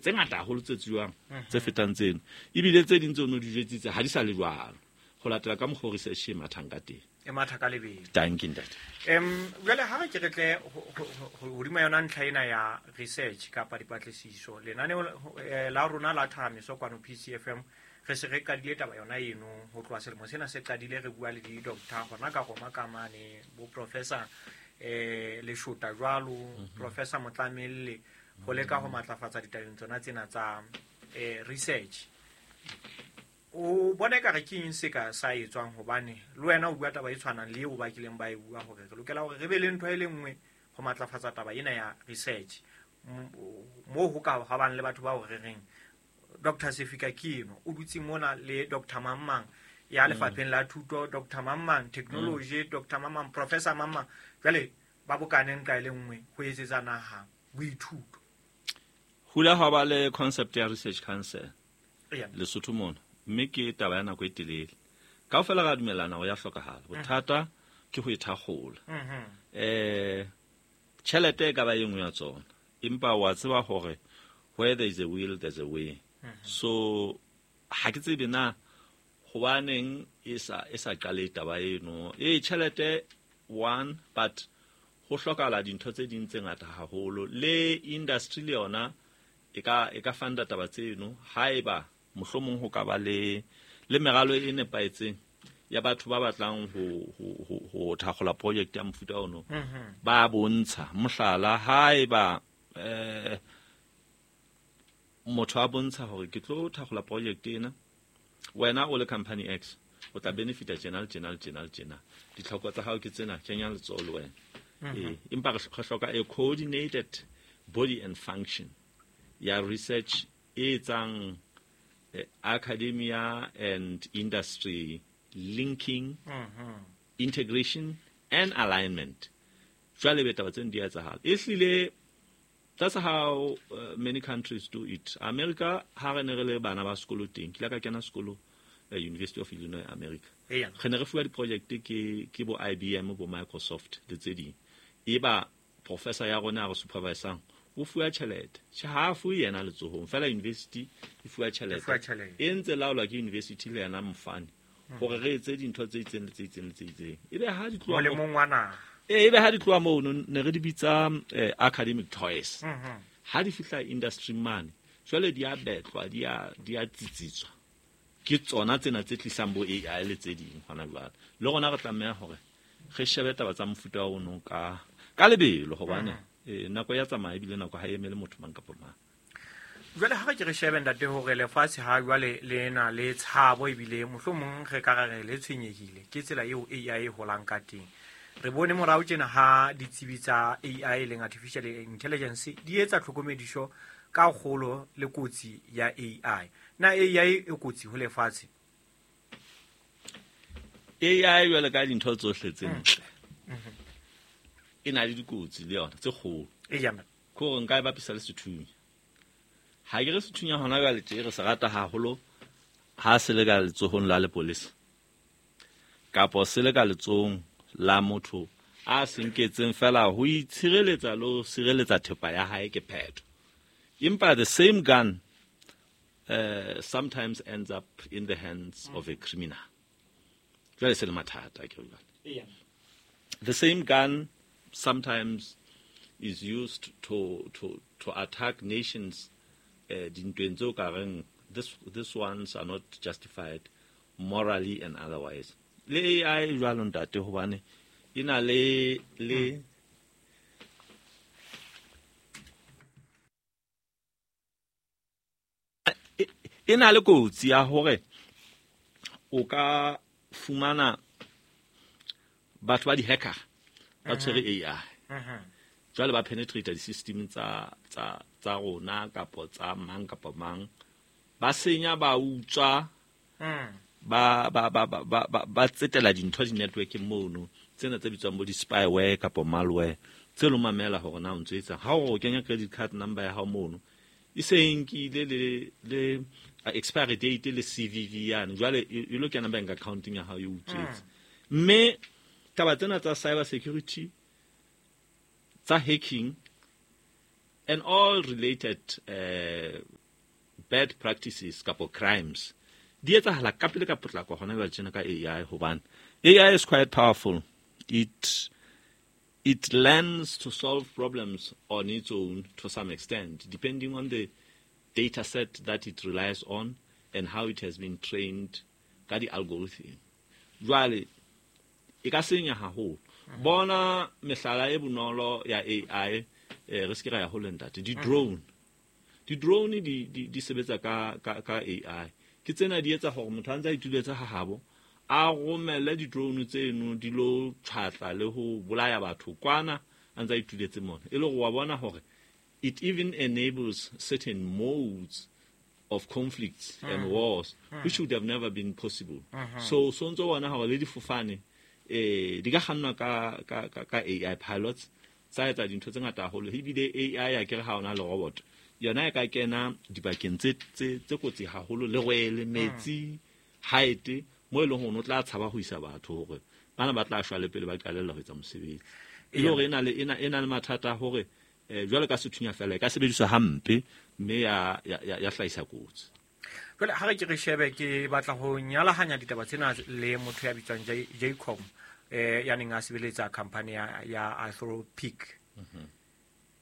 Tse ngata haholo tse tsuwang tse fetang tseno, ebile tse ding tseo no di jwetsitse ha di sa le jwalo ho latela ka mokgwa o research e mathang ka teng. E matha ka lebelo. Dankie, ntate. Jwale ha re ke re tle hodima yona ntlha ena ya research kapa dipatlisiso, lenaneo la rona la Thahamiso kwano PCFM re se re qadile taba yona eno ho tloha selemo sena se qadile, re bua le di-doctor hona ka Roma ka mane, bo professor Leshota jwalo, Professor Motlamelle, ho leka ho matlafatsa ditabeng tsona tsena tsa research. O bona ekare ke eng se ka sa etswang, hobane le wena o bua taba e tshwanang le eo ba kileng ba e bua hore re lokela hore re be le ntho e le nngwe ho matlafatsa taba ena ya research, moo ho ka ha bang le batho bao re reng Doctor Sefika ke eno o dutse mona le Doctor Mang ya lefapheng la thuto, Doctor Mang technology, Doctor Mang, Professor Mang, jwale ba bokane nqa e le nngwe ho etsetsa naha boithuto. Hula ha ba le concept ya research council Lesotho mona, mme ke taba ya nako e telele. Kaofela ra dumellana ho ya hlokahala. Bothata ke ho e thakgola. Tjhelete e ka ba e nngwe ya tsona, empa wa tseba hore where there is a will there's a way. So ha ke tsebe na hobaneng e sa qale taba eno. Tjhelete one, but ho hlokahala dintho tse ding tse ngata haholo. Le industry le yona e ka funda taba tseno haeba mohlomong ho ka ba le meralo e nepahetseng ya batho ba batlang ho thakgola project ya mofuta ono. Ba bontsha mohlala haeba motho a bontsha hore ke tlo thakgola project ena, wena o le company X o tla benefita tjena le tjena le tjena le tjena, ditlhoko tsa hao ke tsena, kenya letsoho le wena. Empa re hloka a coordinated body and function ya research e etsang academia and industry linking, integration and alignment. Jwale be taba tseno di a etsahala. Ehlile that's how many countries do it. America, ha re ne re le bana ba sekolo teng, ke ile ka kena sekolo University of Illinois, America. Re ne re fuwa di-project ke bo IBM, bo Microsoft le tse ding. Eba professor ya rona a re supervisang o fuwa tjhelete. Tjhe, ha a fuwe yena letsohong, fela university e fuwa tjhelete. E fuwa tjhelete. E ntse laolwa ke university le yena mofani hore re etse dintho tse itseng le tse itseng le tse itseng. Ebe ha di tloha Molemong wa naha. Ebe ha di tloha mono, ne re di bitsa academic toys. Ha di fihla industry mane, jwale di a betlwa, di a tsitsitswa. Ke tsona tsena tse tlisang bo AI le tse ding hona jwale. Le rona re tlameha hore re shebe taba tsa mofuta ono ka lebelo, hobane nako ya tsamaya ebile nako ha e emele motho mang kapa mang. Jwale ha re ke re shebe ntate hore lefatshe ha jwale le na le tshabo ebile mohlomong re ka re le tshwenyehile ke tsela eo AI e holang ka teng. Re bone morao tjena ha ditsebi tsa AI leng artificial intelligence di etsa tlhokomediso ka kgolo le kotsi ya AI. Na AI e kotsi ho lefatshe? AI jwale ka dintho tsohle tse ntle e na le dikotsi le yona tse kgolo. Ke hore nka e bapisa le sethunya. Ha ke re sethunya hona jwale tje re se rata haholo ha se le ka letsohong la lepolesa kapo se le ka letsohong la motho a se nketseng fela ho itshireletsa le ho sireletsa thepa ya hae ke phetho. Empa the same gun sometimes ends up in the hands of a criminal. Jwale se le mathata ke jwale. The same gun sometimes is used to attack nations dintweng tseo ka reng this ones are not justified morally and otherwise. Le AI jwalo ntate, hobane e na le e na le kotsi ya hore o ka fumana batho ba di-hacker ba tshwere AI. Jwale ba penetrate di-system tsa rona kapo tsa mang kapa mang, ba senya, ba utswa, ba tsetela dintho di-network-eng mono, tsena tse bitswang bo di-spyware kapo malware, tse lo mamela hore na o ntso etsang. Ha o kenya credit card number ya hao mono, e se nkile le expiry date le CVV yane, jwale e lo kena bank accounting ya hao e utswetse. Mme taba tsena tsa cyber security, tsa hacking, And all related bad practices kapo crimes di etsahala ka pele ka potlako hona jwale tjena ka AI, hobane AI is quite powerful. It learns to solve problems on its own to some extent, depending on the data set that it relies on and how it has been trained ka di-algorithm. Jwale e ka senya haholo. Bona mehlala e bonolo ya AI, re se ke ra ya hole, ntate. Di-drone, di-drone di sebetsa ka AI. Ke tsena di etsa hore motho a ntse a ituletse ha habo, a romelle di-drone tseno di lo tjhatla le ho bolaya batho kwana a ntse a ituletse mona. E le hore wa bona hore it even enables certain modes of conflicts and wars which would have never been possible. So ntso bona hore le difofane di ka kgannwa ka AI pilots, tsa etsa dintho tse ngata haholo. Ebile AI ya kere ha ona le robot, yona e ka kena dibakeng tse kotsi haholo, lerwele, metsi, height, mo e leng hore o tla tshaba ho isa batho hore bana ba tla shwa le pele ba qalella ho etsa mosebetsi. E le hore e na le mathata a hore jwalo ka sethunya fela, e ka sebediswa hampe mme ya hlahisa kotsi. Jwale ha re ke re shebe, ke batla ho nyalahanya ditaba tsena le motho ya bitswang Jacom, ya neng a sebeletsa company ya Anthropic,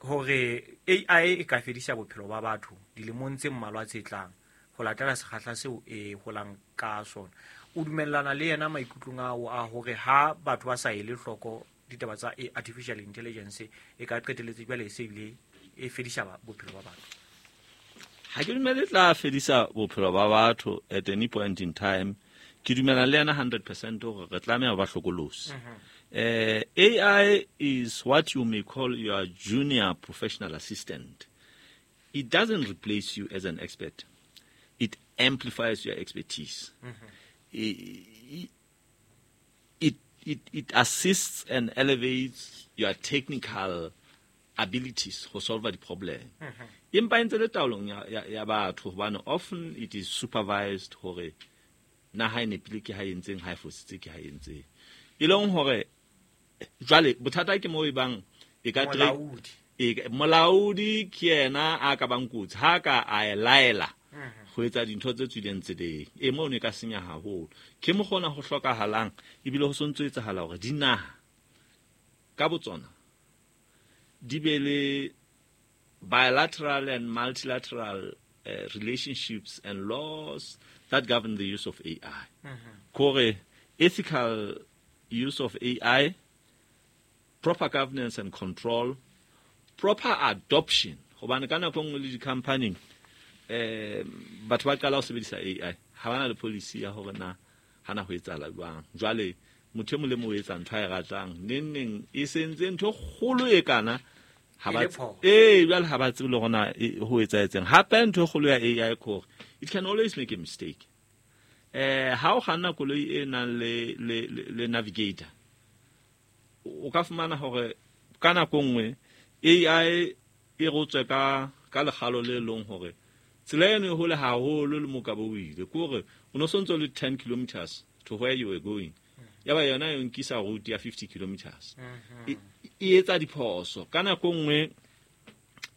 hore AI e ka fedisa bophelo ba batho dilemong tse mmalwa tse tlang ho latela sekgahla seo e holang ka sona. O dumellana le yena maikutlong ao a hore ha batho ba sa ele hloko ditaba tsa artificial intelligence, e ka qetelletse jwale e se ebile e fedisa bophelo ba batho? Ha ke dumele tla fedisa bophelo ba batho at any point in time. Ke dumela le yena 100% hore re tlameha ho ba hlokolosi. AI is what you may call your junior professional assistant. It doesn't replace you as an expert, it amplifies your expertise. It assists and elevates your technical abilities ho solve the problem, empa e ntse le taolong ya batho, hobane often it is supervised hore na ha e nepile ke ha e entseng, ha e fositse ke ha e entseng. E leng hore jwale bothata ke mo e bang e ka Molaodi. Molaodi ke yena a ka bang kotsi ha ka a e laela ho etsa dintho tse tswileng tseleng. E mono e ka senya haholo. Ke mo kgona ho hlokahalang, ebile ho sontso etsahala hore dinaha ka botsona di be le bilateral and multilateral relationships and laws that govern the use of AI. Kore ethical use of AI, proper governance and control, proper adoption. Hobane ka nako e nngwe le di-company, batho ba qala ho sebedisa AI, ha bana le policy ya hore na hana ho etsahala jwang. Jwale motho e mong le mong o etsa ntho a e ratang, neng neng e sentse ntho e kgolo e kana ha ba E le phoso. Ee, jwale ha ba tsebe le hore na ho etsahetseng. Hape ntho e kgolo ya AI ke hore it can always make a mistake. Ha o kganna koloi e nang le navigator, o ka fumana hore ka nako nngwe AI e rotswe ka lekgalo le leng hore tsela eno e hole haholo le mo ka bo o ile, ke hore o no sontso le 10 kilometers to where you were going, ya ba yona e nkisa route ya 50 kilometers. E etsa diphoso ka nako nngwe.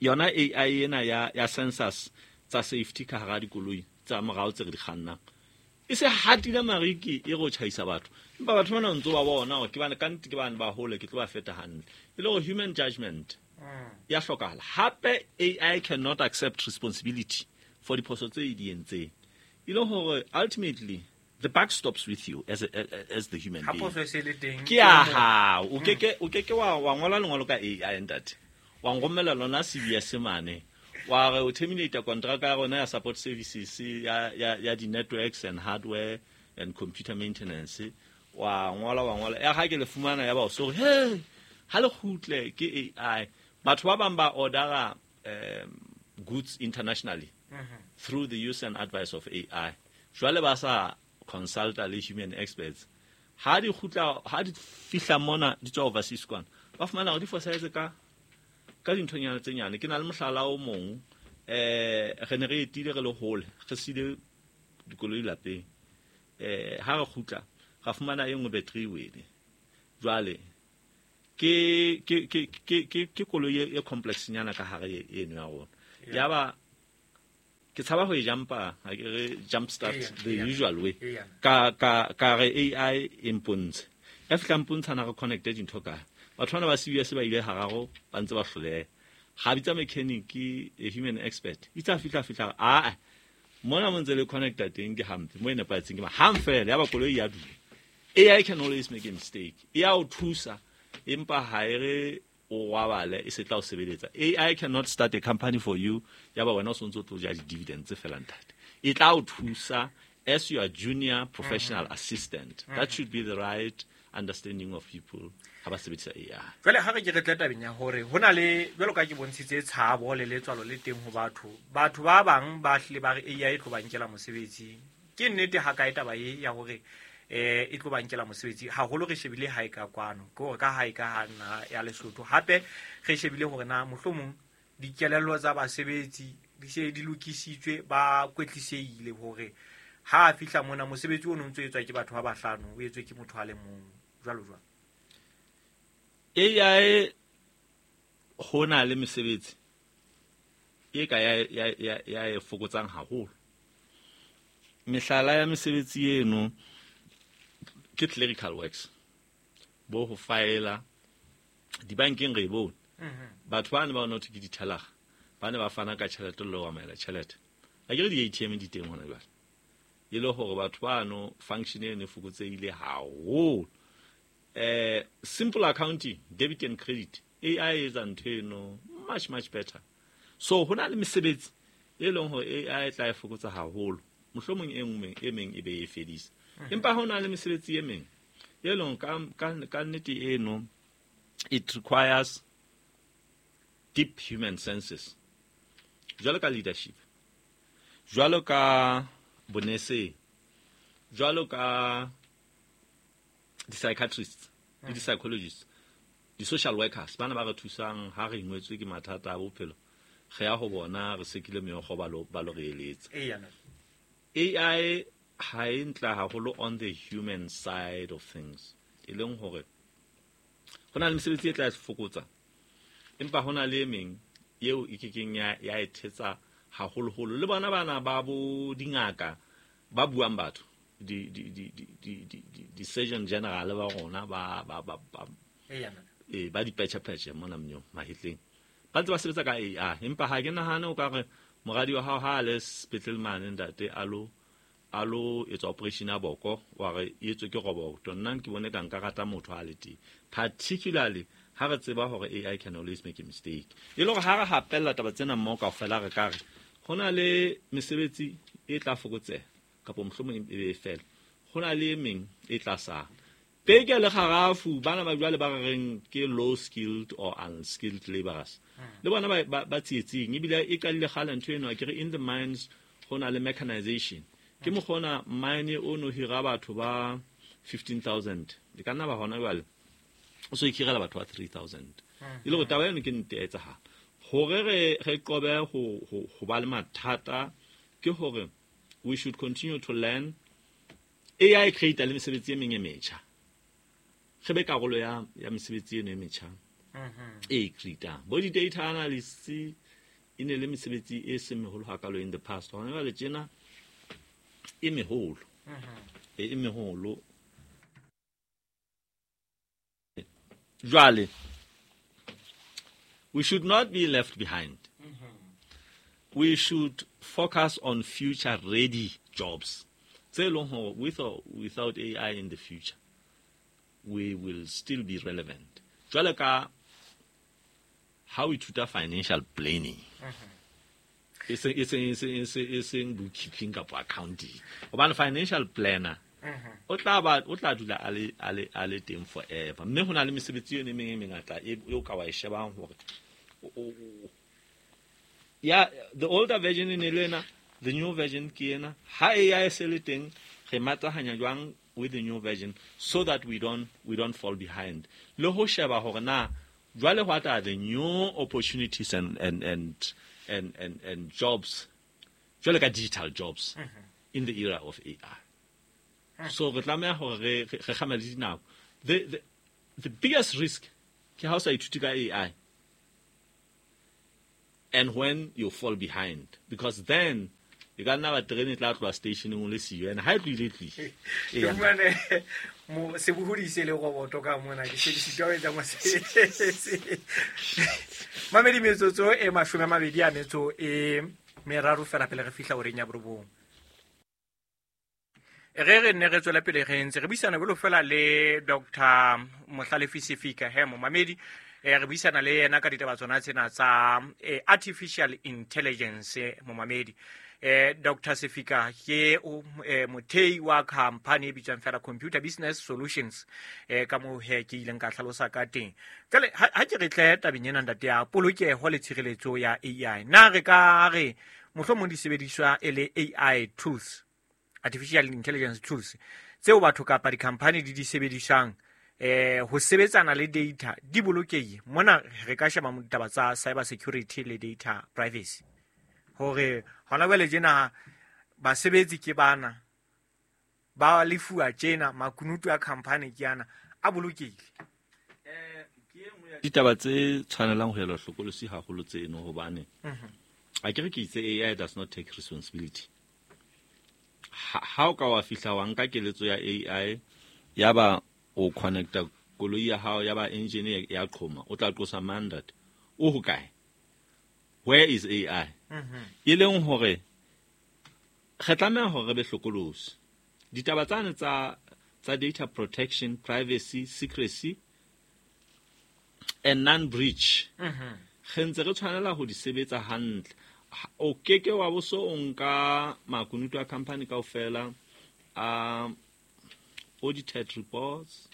Yona AI ena ya sensors tsa safety ka hara dikoloi tsa morao tse re di kgannang, e se hatile mariki e re o tjhaisa batho, empa batho bana ntso ba bona hore ke bane ka nnete, ke bane ba hole, ke tlo ba feta hantle. E le hore human judgment ya hlokahala. Hape AI cannot accept responsibility for diphoso tse e di entseng, e le hore ultimately the buck stops with you as the human Ha being. Phoso e se le teng, Ke ya hao. O ke ke wa ngola lengolo ka AI, ntate, wa nromella lona CBS mane, wa re o terminate contract ya rona ya support services ya di-networks and hardware and computer maintenance. Wa ngola ya ha ke le fumana ya ba o so hey, ha le kgutle ke AI. Batho ba bang ba ordera goods internationally through the use and advice of AI, jwale ba sa consulta le human experts. Ha di kgutla, ha di fihla mona di tswa overseas kwana, ba fumana hore di fosahetse ka dinthonyana tse nyane. Ke na le mohlala o mong. Re ne re etile, re le hole, re siile dikoloi lapeng. Ha re kgutla, ra fumana e nngwe battery e wele. Jwale Ke koloi e complex nyana ka hare eno ya rona. Yaba ke tshaba ho e jumpa, ha ke re jump start the usual way. Ka re AI e mpontshe. Ya fihla mpontsha na re connecte dintho kae. Batho bana ba CBS ba ile hararo ba ntse ba hloleha. Ga bitsa mechanic, a human expert. Itse a fihla a mona mo ntse le connecta teng ke hampe, mo e nepahetseng ke hang fela ya ba koloi ya dula. AI can always make a mistake. E a o thusa empa ha e re o robale e se tla o sebeletsa. AI cannot start a company for you. Ya ba wena o sontso tlo ja di-dividends tse fela ntate. E tla o thusa as your junior professional assistant. That should be the right understanding of people ha ba sebedisa AI. Jwale ha re ke re tle tabeng ya hore ho na le jwalo ka ke bontshitse tshabo le letswalo le teng ho batho. Batho ba bang ba hlile ba re AI e tlo ba nkela mosebetsi. Ke nnete ha kae taba e ya hore e tlo ba nkela mosebetsi, haholo re shebile ha e ka kwano, ke hore ka ha e ka ha nna ya Lesotho. Hape re shebile hore na mohlomong dikelello tsa basebetsi di se di lokisitswe, ba kwetlisehile hore ha a fihla mona mosebetsi o no ntso etswa ke batho ba bahlano o etswe ke motho a le mong, jwalo jwalo. AI ho na le mesebetsi e ka ya e fokotsang haholo. Mehlala ya mesebetsi eno ke clerical works, bo ho faela dibankeng re e bone. Batho ba ne ba not ke di-teller, ba ne ba fana ka tjhelete le ho amohela tjhelete. Ha ke re di-ATM di teng hona jwale. E le hore batho bano function eno e fokotsehile haholo. Simple accounting, debit and credit, AI e etsa ntho eno much much better. So ho na le mesebetsi e leng hore AI e tla e fokotsa haholo. Mohlomong e nngwe e meng e be e fedisa. Empa ho na le mesebetsi e meng e leng ka nnete eno it requires deep human senses. Jwalo ka leadership, jwalo ka boneseng, jwalo ka di-psychiatrists le di-psychologists, di-social workers, bana ba re thusang ha re ingwetswe ke mathata a bophelo, re ya ho bona re sekile meokgo ba lo re eletsa. AI ha e ntla haholo on the human side of things, e leng hore ho na le mesebetsi e tla e fokotsa, empa ho na le e meng eo e kekeng ya e thetsa haholoholo. Le bona bana ba bo dingaka ba buang batho, di surgeon general ba rona ba dipetjhepetjhe mona mnyong mahetleng, ba ntse ba sebetsa ka AI. Empa ha ke nahane o ka re moradi wa hao ha a le sepetlele mane ntate a lo etsa operation ya boko, wa re e etswe ke roboto, nna ke bone ka nka rata motho a le teng, particularly ha re tseba hore AI can always make a mistake. E le hore ha re hapella taba tsena mmoho kaofela, re ka re ho na le mesebetsi e tla fokotseha kapa mohlomong e be e fela, ho na le e meng e tla sala. Peke le kgarafu bana ba jwale ba re reng ke low skilled or unskilled laborers, le bona ba tsietsing. Ebile e qadile kgale ntho eno, ke re in the mines ho na le mechanization. Ke mokgona mine o no hira batho ba 15,000, e ka nna ba hona jwale o so ikhirela batho ba 3,000. E le hore taba eno ke nnete ya etsahala. Hore re qobe ho ba le mathata ke hore we should continue to learn. AI create le mesebetsi e meng e metjha, re be karolo ya mesebetsi eno e metjha e creatang. Bo di-data analysts e ne le mesebetsi e seng meholo hakalo in the past, hona jwale tjena e meholo, e meholo. Jwale we should not be left behind. We should focus on future ready jobs tse leng hore with or without AI in the future we will still be relevant. Jwale ka ha o ithuta financial planning, e seng bookkeeping kapa accounting, hobane financial planner o tla dula a le teng forever. Mme ho na le mesebetsi eno e meng e mengata e o ka wa e shebang hore ya the older version e ne le ena, the new version ke ena. Ha AI e se le teng, re matahanya jwang with the new version so that we don't fall behind. Le ho sheba hore na jwale what are the new opportunities and jobs, jwale ka digital jobs in the era of AI. So re tlameha hore re kgamele dinako. The biggest risk Ke ha o sa ithute ka AI. And when you fall behind, because then e ka nna ba terene e tla tloha stationeng o le siyo, and ha e tlohile e tlohile. Ke fumane sebohodi se le roboto ka mona, ke se ke sitwa ho etsa mosebetsi. Mamedi, metsotso e 23 fela pele re fihla horeng ya 9. Re re nne re tswele pele re ntse re buisana jwalo fela le Dr. Mohlalefi Sefika he momamedi, re buisana le yena ka ditaba tsona tsena tsa artificial intelligence momamedi. Dr. Sefika ke mothei wa company e bitswang fela Computer Business Solutions, ka moo he ke ileng ka hlalosa ka teng. Jwale ha ke re tle tabeng ena ntate ya polokeho le tshireletso ya AI, na re ka re mohlomong disebediswa e le AI tools, artificial intelligence tools tseo batho kapa di-company di di sebedisang ho sebetsana le data di bolokehile? Mona re ka sheba ditaba tsa cyber security le data privacy, hore hona jwale tjena basebetsi ke bana ba lefuwa tjena, makunutu a company ke ana, a bolokehile. Ditaba tse tshwanelang ho elwa hlokolosi haholo tseno, hobane a ke re ke itse AI does not take responsibility. Ha o ka wa fihla wa nka keletso ya AI, ya ba o connecta koloi ya hao, ya ba engine ya qhoma, o tla qosa mandate. O hokae? Where is AI? E leng hore re tlameha hore re be hlokolosi. Ditaba tsane tsa data protection, privacy, secrecy and non-breach, re ntse re tshwanela ho di sebetsa hantle. O keke wa bo so o nka makunutu a company kaofela a audited reports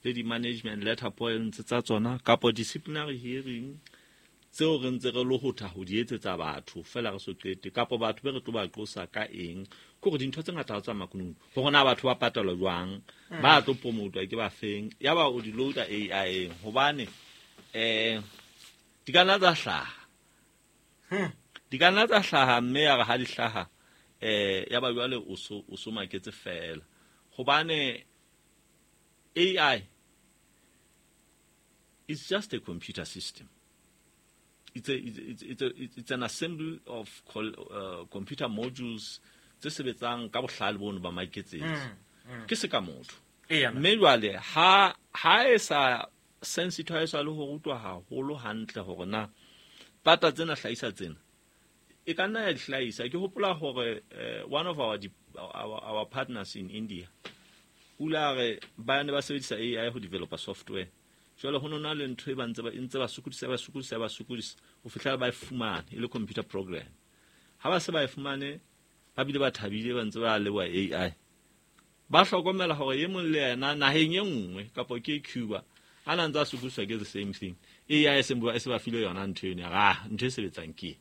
le di-management letter points tsa tsona kapo disciplinary hearing tseo re ntse re lohotha ho di etsetsa batho fela re so qete, kapo batho be re tlo ba qosa ka eng. Ke hore dintho tse ngata ha tsa makunutu, hore na batho ba patalwa jwang, ba tlo promotwa ke ba feng, ya ba o di loada AI eng, hobane di ka nna tsa hlaha. Di ka nna tsa hlaha, mme ya re ha di hlaha, ya ba jwale o so maketse fela. Hobane AI is just a computer system. It's an assembly of computer modules tse sebetsang ka bohlale bono ba maiketsetso. Ke se ka motho. Mme jwale ha e sa sensitize le ho rutwa haholo hantle hore na pata tsena hlahisa tsena, e ka nna ya di hlahisa. Ke hopola hore one of our partners in India o ile a re ba ne ba sebedisa AI ho developer software. Jwale ho nona le ntho e ba ntse ba sokodisa ba sokodisa ba sokodisa ho fihlela ba e fumane e le computer program. Ha ba se ba e fumane, ba bile ba thabile ba ntse ba leboha AI. Ba hlokomela hore e mong le yena naheng e nngwe kapa ke Cuba a na ntse a sokodiswa ke the same thing. AI e se ba file yona ntho eno, ya ntho e sebetsang ke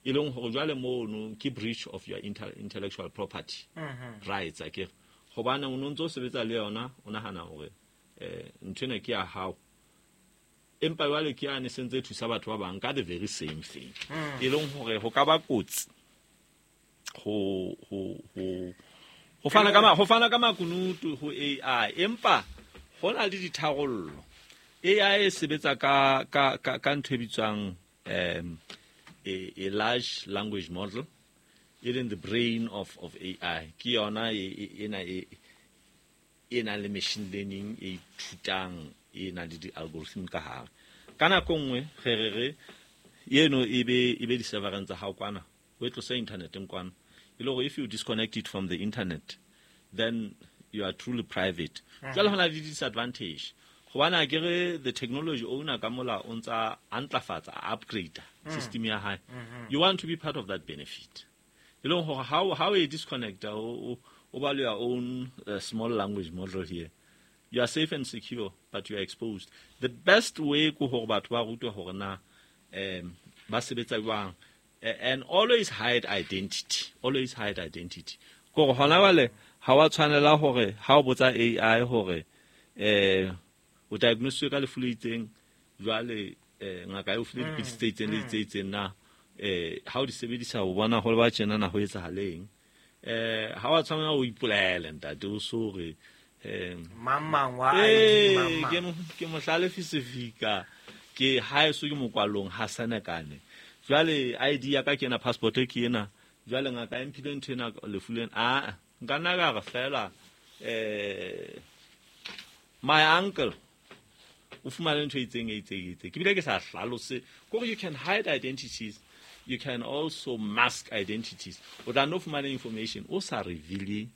e leng hore jwale mono ke breach of your intellectual property rights akere. Hobane o no ntse o sebetsa le yona, o nahana hore ntho ena ke ya hao, empa jwale ke yane se ntse thusa batho ba bang ka the very same thing. E leng hore ho ka ba kotsi ho fana ka makunutu ho AI, empa ho na le ditharollo. AI e sebetsa ka ntho e bitswang a large language model, e leng the brain of AI. Ke yona ena e nang le machine learning e ithutang, e nang le di-algorithm ka hare. Ka nako nngwe re re eno e be di-servereng tsa hao kwana, o e tlose inthaneteng kwana, e le hore if you disconnect it from the internet, then you are truly private. Jwale ho na le disadvantage, hobane akere the technology owner ka mola o ntsa a ntlafatsa, a upgrade system ya hae. You want to be part of that benefit. E leng hore how e disconnect o ba le your own small language model here. You are safe and secure, but you are exposed. The best way ke hore batho ba rutwe hore na ba sebetsa jwang, and always hide identity. Always hide identity. Kore hona jwale ha wa tshwanela hore ha o botsa AI hore o diagnosiswe ka lefu le itseng, jwale ngaka e o file dipidisi tse itseng le tse itseng na ha o di sebedisa o bona hore ba tjena na ho etsahaleng. Ha wa tshwanela ho ipolaela ntate, o so re Mang mang wa ID mang mang. Ke Mohlalefi Sefika, ke haeso ke mokwalong ha Senekane. Jwale ID ya ka ke ena, passport ke ena. Jwale ngaka e mphile ntho ena lefu lena. Ah, nka nna ka re fela my uncle o fumane ntho e itseng e itseng e itseng. Ke bile ke sa hlalose kore you can hide identities, you can also mask identities. O tla no fumana information o sa reveal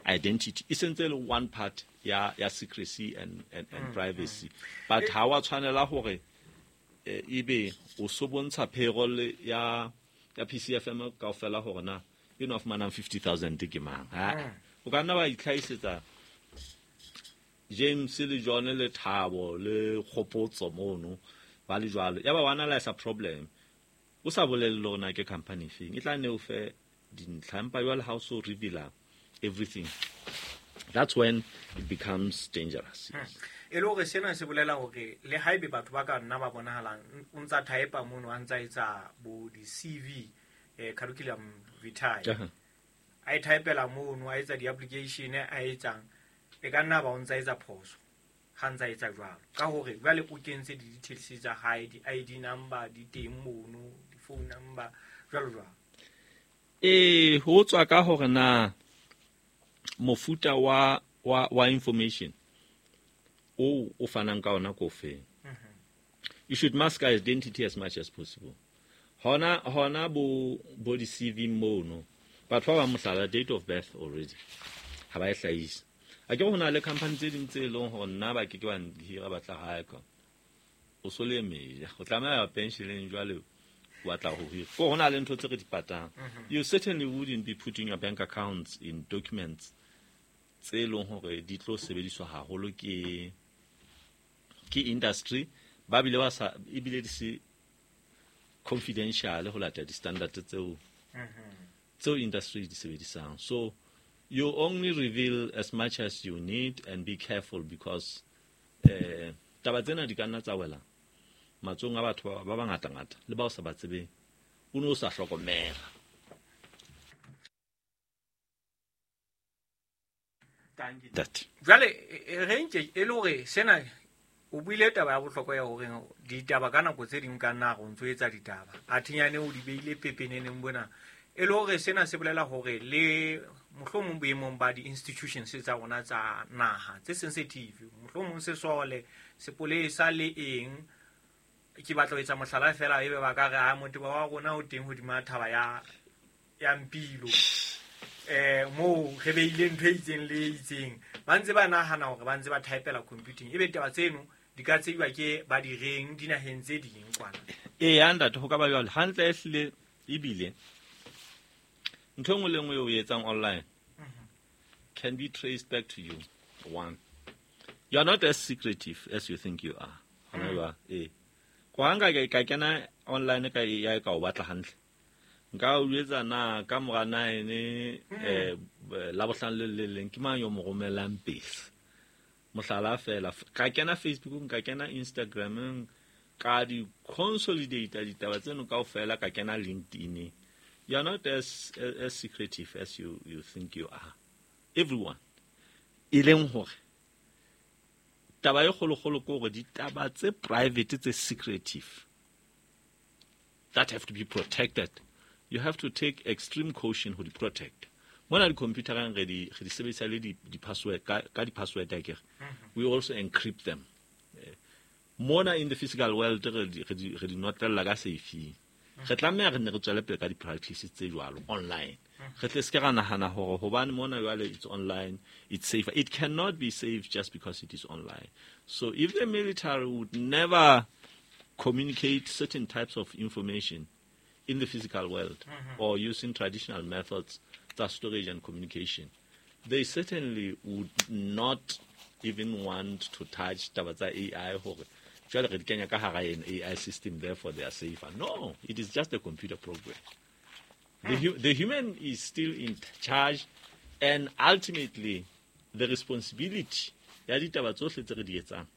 identity. E sentse le one part ya secrecy and privacy. But ha wa tshwanela hore ebe o so bontsha payroll ya PCFM kaofela hore na e no fumanang 50,000 ke mang. Ha o ka nna wa itlhahisetsa James le John le Thabo le Kgopotso mono ba le jwalo. Ya ba wa analyze problem. O sa bolelle lona ke company feng. E tla ne o fe dintlha empa jwale ha o so reveal everything. That's when it becomes dangerous. E le hore sena se bolela hore le haebe batho ba ka nna ba bonahalang o ntsa type mono a ntsa etsa bo di CV, curriculum vitae. A e typela mono a etsa di application a etsang e ka nna ba o ntsa etsa phoso ha ntsa etsa jwalo ka hore jwale o kentse di details tsa hae, di ID number di teng mono, di phone number jwalo jwalo. Ho tswa ka hore na mofuta wa information o fanang ka ona ko feng. You should mask identity as much as possible. Hona bo di CV mono batho ba mohlala date of birth already ha ba e hlahise. A ke hona le company tse ding tse leng hore nna ba ke ke ba hira batla hae ka o so le meja o tlameha pensioneng jwale o batla ho hira ko hona le ntho tse re di patang. You certainly wouldn't be putting your bank accounts in documents tse leng hore di tlo sebediswa haholo ke industry ba bile ba sa ebile di se confidential ho lata di standard tseo tseo industry di sebedisang. So you only reveal as much as you need and be careful because taba tsena di ka nna tsa wela matsong a batho ba bangata-ngata le bao sa ba tsebeng o ne o sa hlokomela. Jwale re nke e le hore sena o buile taba ya bohlokwa ya hore ditaba ka nako tse ding ka nna go ntso etsa ditaba a thinyane o di beile pepeneneng bona e le hore sena se bolela hore le mohlomong boemong ba di-institutions tsa rona tsa naha tse sensitive, mohlomong sesole, sepolesa le eng. Ke batla ho etsa mohlala fela ebe ba ka re a motho wa rona o teng hodima thaba ya Mpilo moo re beile ntho e itseng le e itseng, ba ntse ba nahana hore ba ntse ba typela computing ebe taba tseno di ka tseiwa ke ba di reng dinaheng tse ding kwana. Ee, ntate ho ka ba jwalo hantle ehlile ebile ntho e nngwe le nngwe o etsang online can be traced back to you. One, you are not as secretive as you think you are. Hona jwale kwa nka ka kena online ka ya ka o batla hantle nka o etsa na ka mora 9 la bohlano le le leng ke mang yo mo romelang pele mohlala fela ka kena Facebook nka kena Instagram ka di consolidate ditaba tseno kaofela ka kena LinkedIn. You are not as secretive as you think you are. Everyone e leng hore taba e kgolokgolo ke hore ditaba tse private tse secretive that have to be protected, you have to take extreme caution ho di protect. Mona di-computereng re di sebedisa le di-password ka di-password akere. We also encrypt them. Mona in the physical world re di notlella ka safe. Re tlameha re ne re tswele pele ka di-practices tse jwalo online. Re tle se ka nahana hore hobane mona jwale it's online, it's safer. It cannot be safe just because it is online. So if the military would never communicate certain types of information in the physical world or using traditional methods of storage and communication, they certainly would not even want to touch taba tsa AI hore jwale re di kenya ka hara an AI system, therefore they are safer. No, it is just a computer program. The human is still in charge, and ultimately the responsibility ya ditaba tsohle tse re di etsang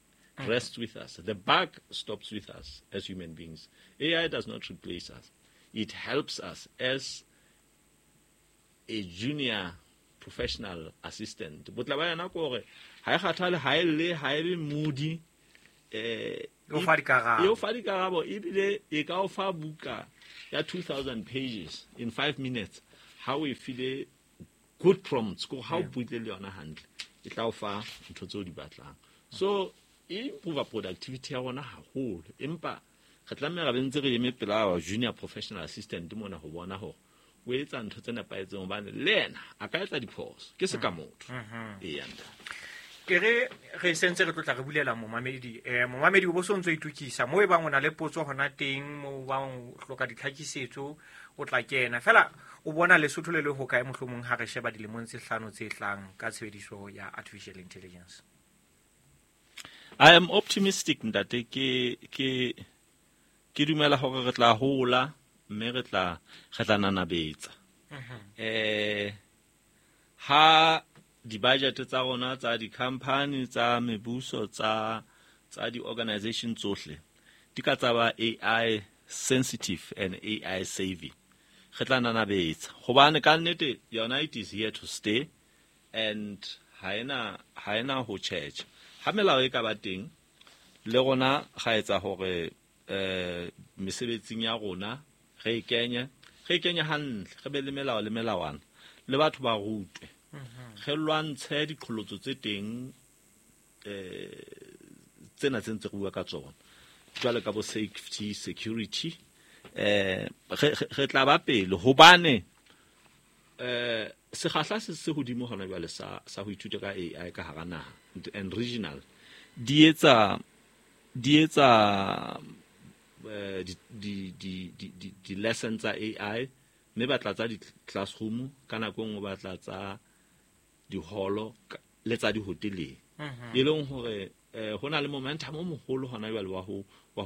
rests with us. The buck stops with us as human beings. AI does not replace us. It helps us as a junior professional assistant. Botle ba yona ke hore ha e kgathale, ha e lle, ha e be moody, E o fa dikarabo. E o fa dikarabo, ebile e ka o fa buka ya 2000 pages in 5 minutes. Ha o e file good prompts, ko ha o buile le yona hantle, e tla o fa ntho tseo di batlang. So e improve productivity ya rona haholo, empa re tlameha re be ntse re eme pela our junior professional assistant mona ho bona hore o etsa ntho tse nepahetseng, hobane le yena a ka etsa diphoso, ke se ka motho. Eya, ntate. Ke re re sentse re tlotla re bulela momamedi. Momamedi o bo so ntso itokisa mo e bang o na le potso hona teng, mo bang o hloka ditlhakisetso, o tla kena. Fela o bona Lesotho le le hokae mohlomong ha re sheba dilemong tse hlano tse tlang ka tshebediso ya artificial intelligence? I am optimistic, ntate. Ke dumela hore re tla hola mme re tla nanabetsa. Ha di-budget tsa rona tsa di-company, tsa mebuso, tsa di-organization tsohle di ka tsa ba AI sensitive and AI savvy, re tla nanabetsa, hobane ka nnete yona it is here to stay and ha ena ho tjhetjha. Ha melao e ka ba teng, le rona ga etsa hore mesebetsing ya rona re e kenye hantle, re be le melao le melawana, le batho ba rutwe, re lwantshe diqholotso tse teng, tsena tse ntse re bua ka tsona jwale ka bo safety, security, re tla ba pele, hobane sekgahla se hodimo hona jwale sa ho ithuta ka AI ka hara naha and regional, di etsa di lesson tsa AI, mme ba tla tsa di-classroom ka nako e nngwe, ba tla tsa diholo le tsa dihoteleng, e leng hore ho na le momentum o moholo hona jwale wa ho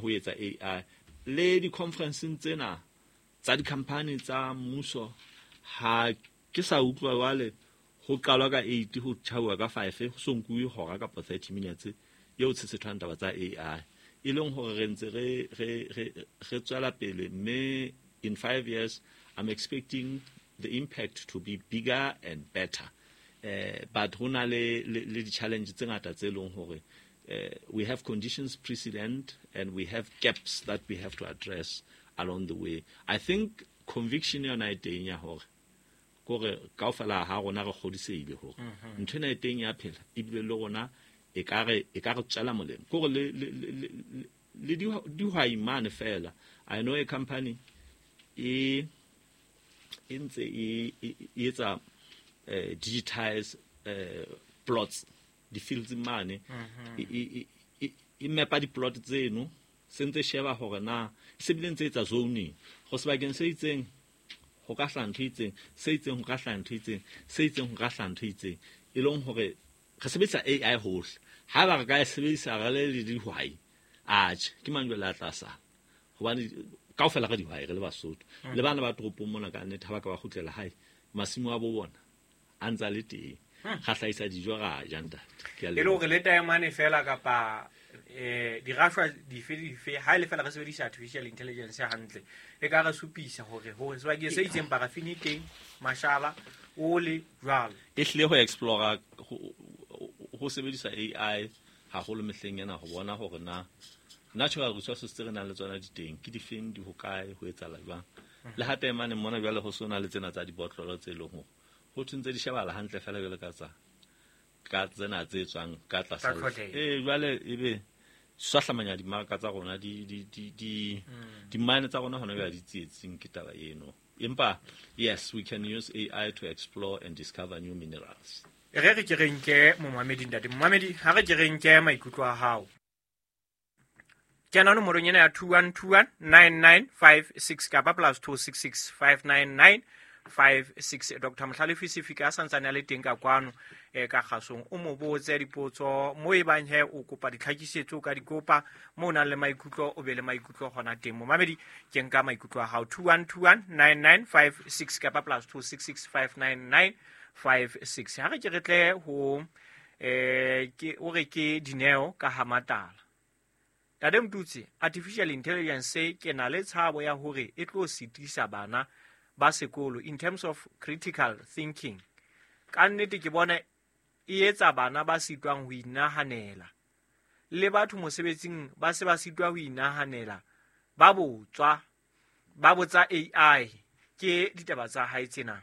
etsa AI le di-conferenceng tsena tsa di-company tsa mmuso. Ha ke sa utlwa jwale ho qalwa ka 8, ho tjhauwa ka 5, ho so nkuwe hora kapa 30 minutes eo tshetsethwang taba tsa AI, e leng hore re ntse re tswela pele, mme in 5 years I'm expecting the impact to be bigger and better. But ho na le di-challenge tse ngata tse leng hore we have conditions precedent and we have gaps that we have to address along the way. I think conviction yona e teng ya hore kore kaofela ha rona re kgodisehile hore ntho ena e teng ya phela, ebile le rona e ka re tswela molemo, kore le dihwai mane fela. I know a company e ntse e etsa digitize plots, di-fields mane, e mapa di-plot tseno, se ntse sheba hore na se bile ntse etsa zoning go sebakeng se itseng ho ka hlaha ntho e itseng, se itseng ho ka hlaha ntho e itseng, se itseng ho ka hlaha ntho e itseng, e leng hore re sebedisa AI hohle. Haeba re ka e sebedisa re le dihwai, atjhe, ke mang jwale a tla sala? Hobane kaofela re dihwai, re le Basotho le bana ba toropong mona, ka nnete ha ba ka ba kgutlela hae, masimo a bo bona a ntsa le teng, ra hlahisa dijo, ra ja, ntate. Ke a E le leboha. Hore le taemane fela kapa dirashwa dife le dife, ha e le fela re sebedisa artificial intelligence hantle, e ka re supisa hore ho sebakeng se itseng parafini e teng, mashala ole jwalo. E hlile ho explora ho sebedisa AI haholo mehleng ena, ho bona hore na natural resources tse re nang le tsona di teng ke difeng, di hokae, ho etsahala jwang. Le ha taemane mona jwale ho so na le tsena tsa dibotlolo tse leng hore ho thwe ntse di shebahala hantle fela jwale ka tsa ka tsena tse tswang ka tlasa Tsa tlholeho. Jwale ebe swahlamanya dimaraka tsa rona, di mine tsa rona hona jwale di tsietsing ke taba eno. Empa yes, we can use AI to explore and discover new minerals. E re ke re nke momamedi, ntate momamedi, ha re ke re nke maikutlo a hao. Kena nomorong ena ya 21219956 kapa +266 599 56. Dr Mohlalefi Sefika a santsane a le teng ka kwano, ka kgasong, o mo botse dipotso mo e bang he o kopa ditlhakisetso, o ka di kopa mo o nang le maikutlo, o be le maikutlo gona teng. Momamedi, ke nka maikutlo a hao, 21219956 kapa +266 599 56. Ha re ke re tle ho ke o re ke Dineo ka Hamatala. Tate Mtutsi, artificial intelligence ke na le tshabo ya hore e tlo sitisa bana ba sekolo in terms of critical thinking. Ka nnete ke bona e etsa bana ba sitwang ho inahanela. Le batho mosebetsing ba se ba sitwa ho inahanela, ba botswa, ba botsa AI. Ke ditaba tsa hae tsena.